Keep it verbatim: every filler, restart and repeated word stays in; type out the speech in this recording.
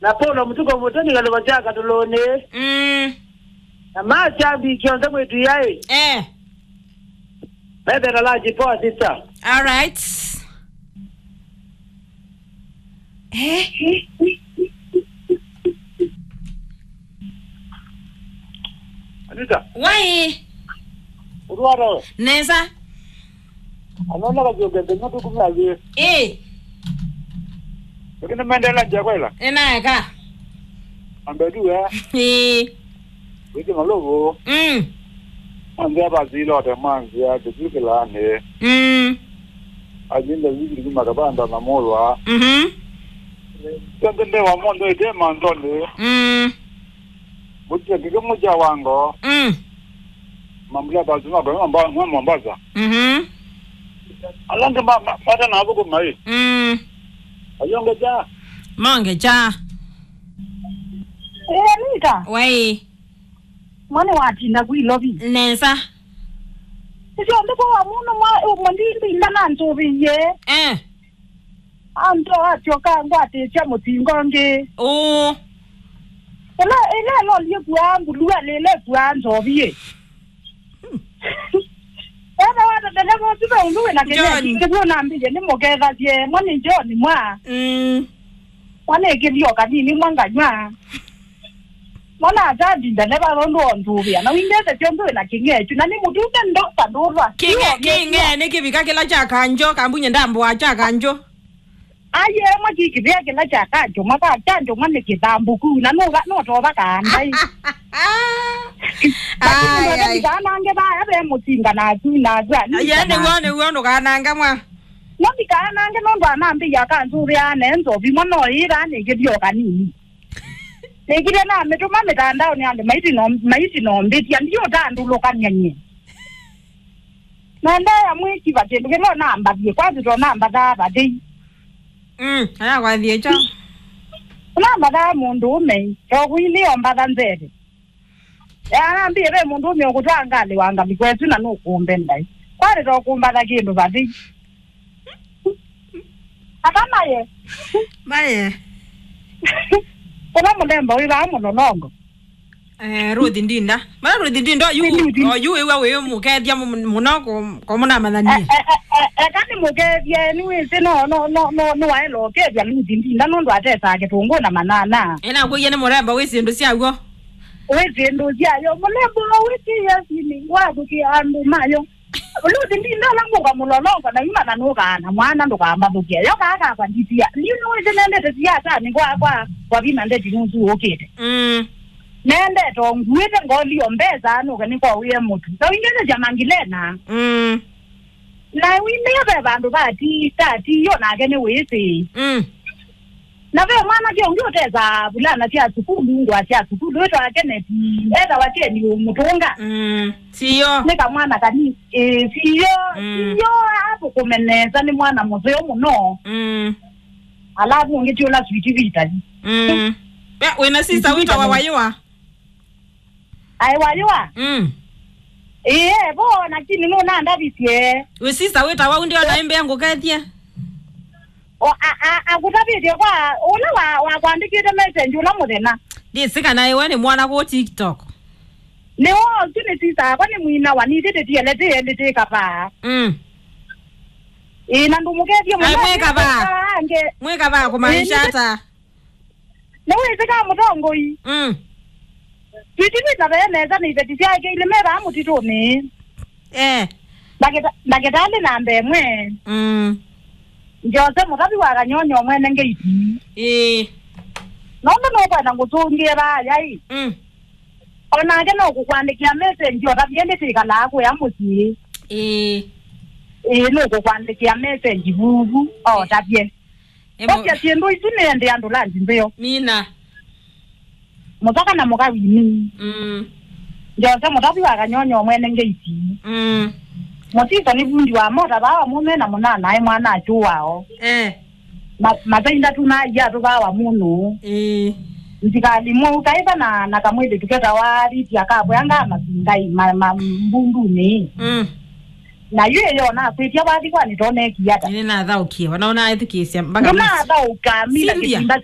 Na Paulo Mũtuko Mũtoni kalũva kya Katũlũnĩ. Mm. Na makyambi kyonthe mwĩtu yaĩ. Eh. Methela la jipoa sister. All right. Eh? Anita. Wai. Ũtwara we. Nesa. Anona kavyũke nthenya tũkumya thĩ. Eh. Lakini maendelea nja kwela. Enaeka. Ambedu we. Eh. Wĩsĩ malũvũ. Mm. Mwanzĩa vasile ote mwanzĩa kĩsu kĩlaanĩ. Mm. Alinda zikili makavanda na molwa. Mhm. Tende ndewa mondo ite mandoni. Mm. Mũtye kĩkĩ mũkya wa ngoo. Mm. Mambula basi mwa kwa mwa Mombasa. Mhm. Alange ma ma- mata na abuko mai. Mm. Ayonge ja. Monge cha. Eh, Anita. Wai. Mwana watinda kwilovi. Nesa. Isio ndiko wa muno mwa umwe ndindi ndana ntuviye. Eh. Anto atyoka ngwatĩtya mũtingo ngĩ. Ũ. Ĩla ĩla ĩlolie kua mbulua lĩle kua nzoviĩ. Ena wata ndeleva ũsu ve ũndũ wĩna kĩnyeki John. Kĩu nambĩie nĩ mũkethasye mwa nĩ John mwa. Mm. Mwa nĩ kĩthio kanini mwa nganywa. Mwana atandi ndeleva rondu ontuvia na wingete kyonthe wĩna kĩng'echu na nĩ mũtume ndoka ndũlwa. Kĩng'e- kĩng'e nĩ kĩvika kĩla kya kanjo kambunye ndambũa kya kanjo. Aye mwa kĩkĩvĩa kĩla kya kanjo mwa ka kanjo mwa nĩ kĩthambũku na nũva nũtova kaandai. Ai, ai. Kanange vaya ve mũtinga na atu na atu. Aye nĩw'o nĩw'o ndũkanange mwa. No ndikaanange nũndũ anambĩia kanzũvĩa ne nzovi mwa no ĩra nĩ kĩthio kanini. Nĩkile namĩtũma mĩtandaonĩ andũ maitino- maitinombĩtya ndiũtandũlũkany'a nyie. Naendeea mwĩkiva kĩndũ kĩla nambathie kwasĩ to nambathaa vathei. Mm, aya kwathie kyo. Nambathaa mũndũũme tokũi nĩyombatha nzeve. Anambie ve mũndũũme ũkũtwaa ngalĩ wa ngalĩko ĩsu na nũkũmbenda. Kwalĩ tokũmbatha kĩndũ vathei. Aka maye. Maye. Ũla mũlemba wĩ vaa mũlolongo. Eh, Ruth Ndinda. Mara Ruth Ndinda yu, Ruth. Oyu wĩwa wĩ mũkethya mu- mũno ko- ko mũnamanyanie. E- e- e- e- eka nĩ mũkethya nĩ wĩsĩ no no no no no waela ũkethya Ruth Ndinda nũndũ atesaa kĩtũngũ na manana. Ena kũiya nĩ mũremba wĩ syĩndũ syaw'o. Wĩ syĩndũ syayo mũlemba wĩ kĩyasini wathũkĩa andũ mayo. Luthi ndindola mũka mũlolongo na imana nũkaana mwana ndũkambathũkĩa yo kaa kakwa nditia ndiu nĩwĩsĩ nendete siasani kwa kwa kwa vina ndeti nusu ũkĩte. Mm. Nendete onguĩte ngolio mbesa nũke nĩkwaũie mũtu na wingĩnĩsya mangilena. Mm. Na wimĩe ve vandũ vati tatiyo nake nĩwĩsĩ. Mm. Na ve mwanake ũngĩ ũtesaa vulana sya sukulu ngũa sya sukulu wĩtawa Kenneth etawa Keni Mũtũnga. Mm, siyo. Nĩ kamwana kanini. Ĩĩ, siyo, mm, siyo, athũkũme nesa nĩ mwana mũseo mũno. Mm. Alafu ũngĩ ti ũla Sweet Vita. Mm. We, wĩna sister wĩtawa Wayũa? Aĩ Wayũa? Mm. Ĩĩ, vo, lakini nũnandavisye. Wĩ sister wĩtawa ũndĩ ona ĩmbĩa ngũkethye? O, a- a- akũtavĩtye kwa ũla wa- wakwandĩkĩte message ũla mũthenya. Ndĩsĩ kana ĩwe nĩ mwana kũ TikTok. Nĩwe ũsu nĩ sister akwa nĩ mwina wa nithĩ tĩtiele tĩelĩ tĩ kavaa. Mm. Ĩĩ na ndũmũkethie mũno. Ai, mwĩ kavaa. Angĩ. Mwĩ kavaa kũmaanisha ata? Nĩwĩsĩ ka mũtongoi. Mm. Twitivita vee nesa nĩ iveti syake ilĩ me vaa mũtitũnĩ. Eh. Ndakĩta- ndakĩtalĩ namba ĩmwe. Mm. Jose mũtavi wa kanyonyo mwene ngeiti. Ĩĩ. Nũndũ nũkwenda ngũtũngĩe vaya ĩ. Mm. Onake no kũkwandĩkĩa message otavie ndĩtĩkalaa kũya mũsyĩ. Ĩĩ. Ĩĩ nũkũkwandĩkĩa message vuvu otavie. Emo- Kwasya syĩndũ isu nĩende andũ lanji ntheo. Mina. Mũtaka na mũka wini. Mm. Jose mũtavi wa kanyonyo mwene ngeiti. Mm. Mũtito nĩ vundi wa mota vaa wa mũme na mũnana aĩ mwana achu wao. Eh. Ma- matainda tu na iya tu vaa wa mũnũ. Eh. Nzikali mwe ukaĩva na na kamwĩthĩ tuketa wa riti akabwanga masingai ma- ma- mbunduni. Mm. Na yu ĩyo nakwĩtya wathi kwani tonekie ata? Nĩ nathaũkie, wanaona aĩthukĩĩsya mpaka mũsyĩ. Nĩnathaũka, mina Cynthia. Kĩtimba Cynthia.